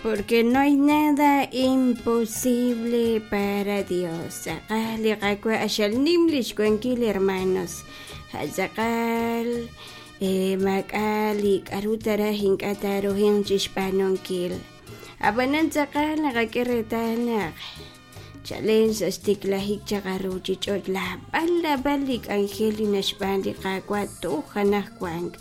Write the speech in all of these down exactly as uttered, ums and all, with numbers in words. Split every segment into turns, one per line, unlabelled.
Porque no hay nada imposible para Dios. Tz'aqal li Qaawa' q'axal nim lix wankil, hermanos. Ja' tz'aqal eh, maak'a' li k'aru taraj ink'a' taaruhinq chixb'aanunkil. Ab'anan tz'aqal naqak'e reetal naq chalen sa' xtiklajik chaq aruuchich'och' lab'al lab'al li k'anjel li naxb'aan li Qaawa' toj anaqwan.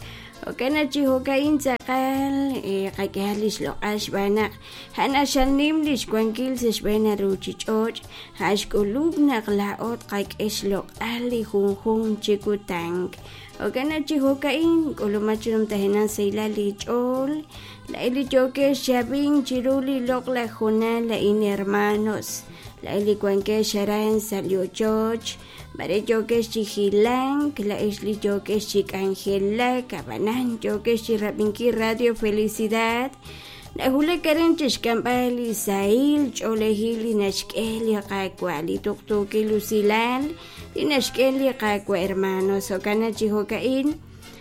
Jo'kan naq chi jo'ka'in tz'aqal eh, qak'ehaq li xloq'al xb'aan naq a'an q'axal nim lix wankil sa' xb'een aruuchich'och', a'an xk'ulub' naq laa'o tqak'e xloq'al li junjunq chi kutan. Jo'kan naq chi jo'ka'in k'ulumaq chi numtajenaq sahilal li ch'ool, laa'in li yookex xab'ink chiru li loq'laj hoonal a'in, hermanos. Laa'in li wankex aran sa' li ochoch, mare yookex chi hilank, laa'ex li yookex chi k'anjelak, ab'anan yookex chi rab'inkil Radio Felicidad. Nawulak aran chixk'amb'al li sahil ch'oolejil li naxk'e li Qaawa', li tuqtuukil usilal li naxk'e li Qaawa', hermanos. Jo'kan naq chi jo'ka'in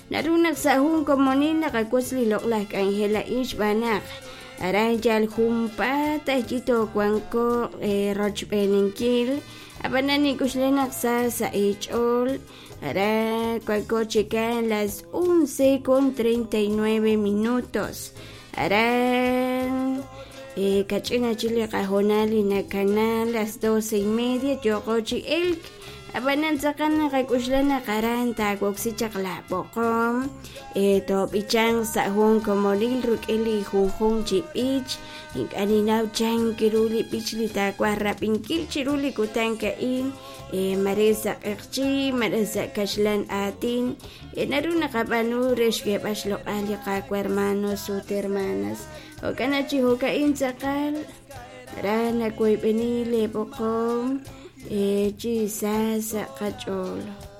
naru naq sa' jun komonil naqawotz li loq'laj k'anjel a'in xb'aan naq aran yal junpaat aj toowanko eh, rochb'eeninkil. Ab'anan nink'uxla naq sa sa' eech'ool aran wanko chikan las once con treinta y nueve minutos. Aran eh, kach'ina chi li qahoonal li nakana las doce y media yooqo chi elk. Ab'anan tz'aqal naqak'uxla naq aran taawoksi chaq la b'oqom eh, toob'ichanq sa' jun komonil rik'in li junjunq chi b'ich. Ink'a' ninnaw chan kiru li b'ich li taawaj rab'inkil chiru li kutan ka'in eh, mare sa' q'eqchi, mare sa' kaxlan aatin. Eh, naru naqab'aanu re xk'eeb'al xloq'al li Qaawa', hermanos ut hermanas. Jo'kan naq chi jo'ka'in tz'aqal aran nawoyb'eni leeb'oqom eh, chi sa sa' qach'ool.